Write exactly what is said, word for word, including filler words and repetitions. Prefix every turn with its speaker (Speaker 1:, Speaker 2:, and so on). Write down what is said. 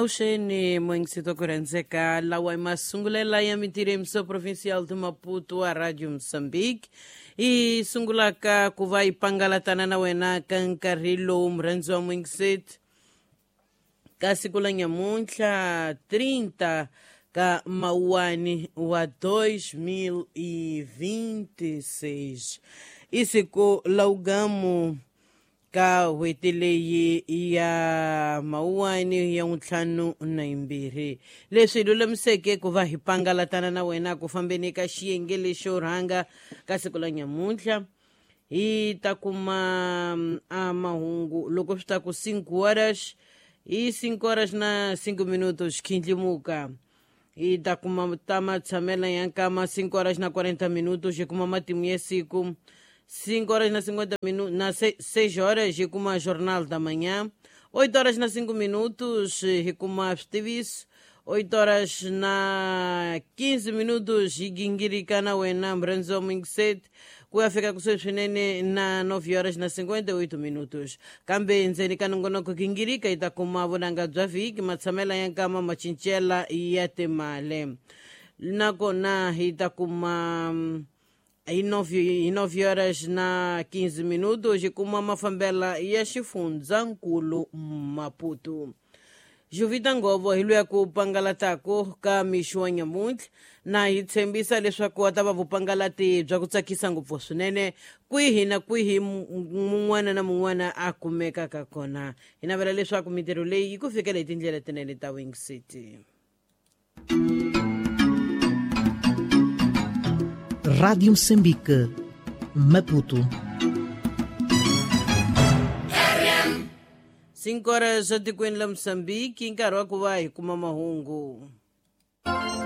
Speaker 1: Avuxeni moyingisito ku rhandzeka lawa i masungulela ya mintirho yimiso provincial de Maputo a Radio Moçambique yi sungulaka ku va yi pangalatana na wena ka nkarhi lowu murhandzi wa moyingiseti ka siku la nyamuntlha trinta ka mawuwani wa dois mil e vinte e seis i siku la ugamu ka n'hweti leyi ya mawuwani ya ntlhanu na yimbirhi leswi hi lulamiseke ku va hi pangalatana na wena ku fambeni ka xiyenge lexo rhanga ka siku la nyamuntlha hi ta kuma a mahungu loko swi ta ku cinco horas hi cinco horas na cinco minutos khindlimuka hi ta kuma ta matshamela ya nkama cinco horas na quarenta minutos hi kuma matimu ya siku cinco horas na cinquenta minutos, na seis horas hi kuma Jornal da Manhã, oito horas na cinco minutos hi kuma switiviso, oito horas na quinze minutos hi gingirika na wena murhandzi wa muyingiseti ku ya fika kusuhi swinene na nove horas na cinquenta e oito minutos. Kambe endzeni ka nongonoko gingirika hi ta kuma vunanga bya vhiki, matshamela ya nkama, macincela ya timali, nakona hi ta kuma hi nove horas na quinze minutos hi kuma mafambela ya xifundzankulu Maputo. Jovita Ngovo hi luya ku pangalatako ka mixo wa nyamuntlha na hi tshembisa leswaku a ta va vupangalati bya ku tsakisa ngopfu swinene kwihi na kwihi mun'wana na mun'wana a kumekaka kona. Hi navela leswaku mintirho leyi yi ku fikela hi tindlela tinene ta Wing City.
Speaker 2: Rádio Moçambique, Maputo.
Speaker 1: Cinco horas etikweni la Moçambique, nkarhi wa ku va hi kuma mahungu.